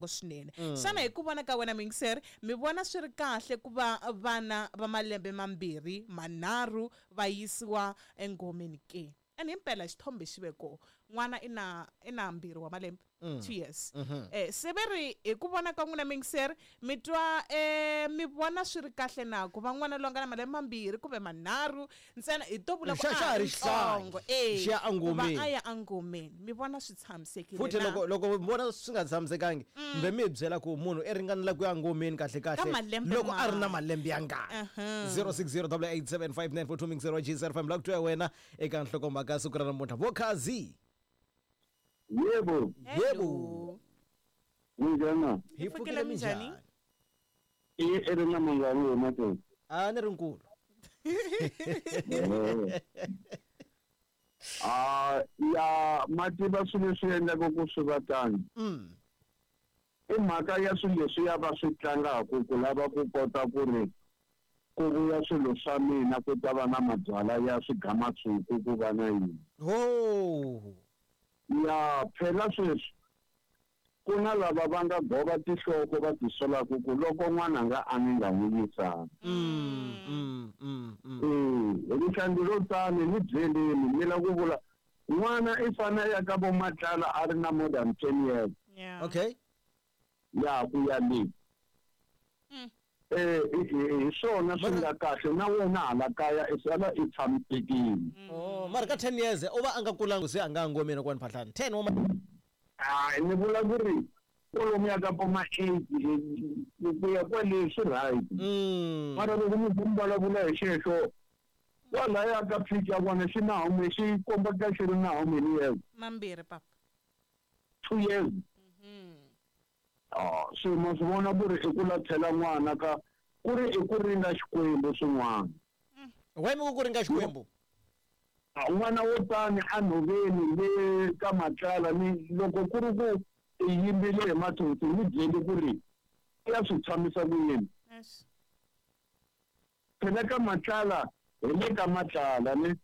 Swinene. Xana hi ku vona ka wena muyingiseri, mi vona swi ri kahle ku va vana va malembe mambirhi, manharhu va yisiwa engomeni ke? And himpela xithombe xi ve kona. N'wana i na i na mbirhi wa malembe, 2 years. Se ve ri hi ku vona ka n'wina muyingiseri, mi twa mi vona swi ri kahle na ku va n'wana loyi a nga na malembe mambirhi kumbe manharhu ntsena hi to vula ku Xa- a xa ha ha ri ri xihlangi. ntsongo, eh, Xi ya ku va engomeni. a ya engomeni, mi vona swi tshamisekile Futhi na? loko mi vona swi nga tshamisekangi, mbe mi hi byela ku munhu i ringanela ku ya ngomeni kahle Ka kahle malembe loko a ri na mani? malembe ya ngani. 0608875942 mixero G05 la ku twa wena eka nhlokomhaka ya siku ra namuntlha. Vokhazi. Yebo. Yebo. Minjhani? Hi Hi pfukile pfukile, minjhani? minjhani? I i ri na mangani wena Matoni? A ni ri nkulu. Ah, ya ma tiva swilo leswi endlaka ku swi va tano. I mhaka ya swilo leswiya va swi tlangaka ku lava ku kota ku ri ku vuya swilo swa mina ku ta va na mabyalwa ya swigamatshuku ku va na yini. Ho. Ya phela sweswi ku na lava va nga gova tinhloko va tisolaka ku loko n'wananga a ni nga n'wi yisanga. Ee, rihlandi ro tani ni byeleni mi la ku vula n'wana i fane a ya ka vo Matlala a ri na more than 10 years. Yeah. Okay. Ya ku ya le. Eh, hi swona swi nga kahle na wena hala kaya i sala i tshamisekile. Oh, mara ka 10 years u va a nga kulangi se a nga ngomeni kwani phahlani. 10 wa Hayi ni vula ku ri kwalomuya ka vo ma 8 ku ya kwale swi right. Mara loko mi mi vulavula hi xexo kwalaya ka picture ya kona xi na how many xi kombaka xi ri na how many years? Mambirhi papa. 2 years. Ah, se ma swi vona ku ri i ku lathela n'wana ka ku ri i ku ringa Xikwembu swin'wana. Why mi ku ku ringa Xikwembu? N'wana wo tani enhoveni le ka Matlala ni loko ku ri ku i yimbile hi mathonsi ni byeli ku ri i ya swi tshamisa ku yini. Phela ka Matlala hi le ka Matlala ne.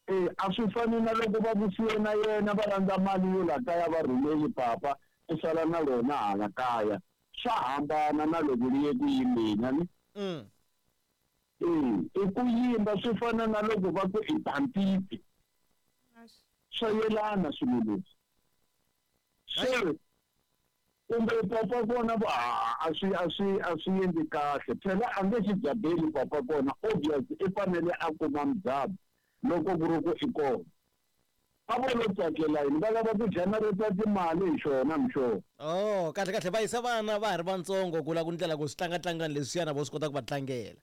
E a swi fani na loko va ku siye na yena va landza mali yo la kaya va rhumeli papa u sala na rona hala kaya. Swa hambana na loko ri ye ku yimbeni a ni. Ee, i ku yimba swi fana na loko va ku i bantiti. Swa yelana swilo leswi. Se kumbe papa kona va a swi a swi a swi endli kahle. Phela a nge xi dzabeli papa kona obvious i fanele a kuma mudzabo loko ku ri ku i kona. A vo lo tsakela yini va lava ku generate timali hi xona mixo. Oh, kahle kahle va yisa vana va ha ri vantsongo ku la ku ndlela ku swi tlangatlangani leswiyana vo swi kota ku va tlangela.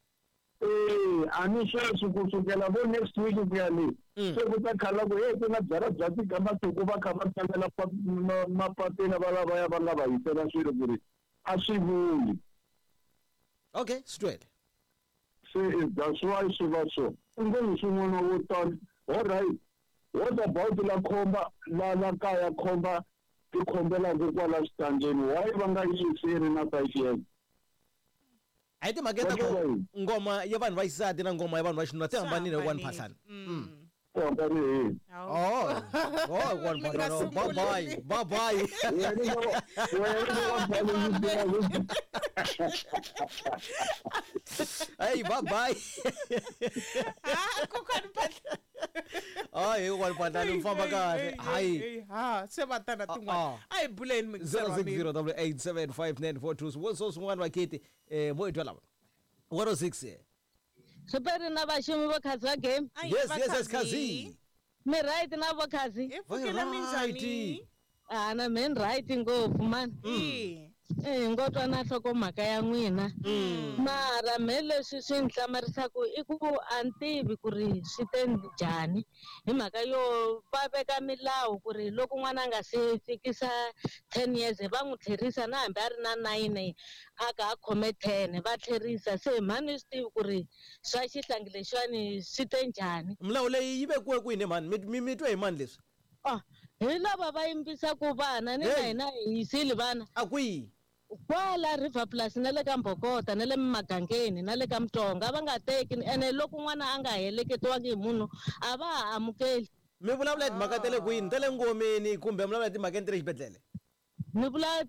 Ee, a ni sweswi ku sukela vo next week ku ya le se ku ta khala ku hey ku na byala bya tigamasuku va kha va tsalela mapapila va lavaya va nga va yisela swilo ku ri a swi vuli. Okay, swi twele. Se that's why swi va so. U nge yisi n'wana wo tani, alright, what about la khomba la la kaya khomba ti khombelaka kwala xitangeni why va nga yisi yi ri na 5 years? A hi timhaka ta ku ngoma ya vanhu va xisati na ngoma ya vanhu va xinuna ti hambanile kokwani Phahlane. Ti hambanile hi? Oh, oh, kokwani Phahlane. Bye bye, bye bye. Hey, bye bye. Ah, kokwani Phahlane. Hayi, kokwani Phahlane mi famba kahle. Hayi. Ha, se va tana tin'wana. A hi buleni mi 0608875942 swivutiso swin'wana vaketi vo hi twa lava. 106. Super na vaxumi vo Khazi va game. Yes, yes, yes, Khazi. Mi right na vo Khazi? Hi pfukile minjhani? Ah, na me ni right ngopfu mani. Eh, ngo twa na nhlokomhaka ya n'wina. Mara me leswi swi ni hlamarisaka i ku a ni tivi ku ri swi te njhani hi mhaka yo va veka milawu ku ri loko n'wana a nga se fikisa 10 years va n'wi tlherisa na hambi a ri na 9 a ka a khome 10 va tlherisa se mhani ni swi tivi ku ri swa xihlangi lexiwani swi te njhani. Milawu leyi yi vekiwe kwini mhani? Mi twe hi mani leswi? Ah, hi lava va yimbisaka vana ni na hina hi yisile vana. A kwihi? Kwala River Plus na le ka Mbokota na le Magangeni na le ka Mutonga va nga teki ene loko n'wana a nga heleketiwangi hi munhu a va ha amukeli. Mi vulavula hi timhaka ta le kwini? Ta le ngomeni kumbe mi vulavula hi timhakeni ta le xibedhlele? Ni vula.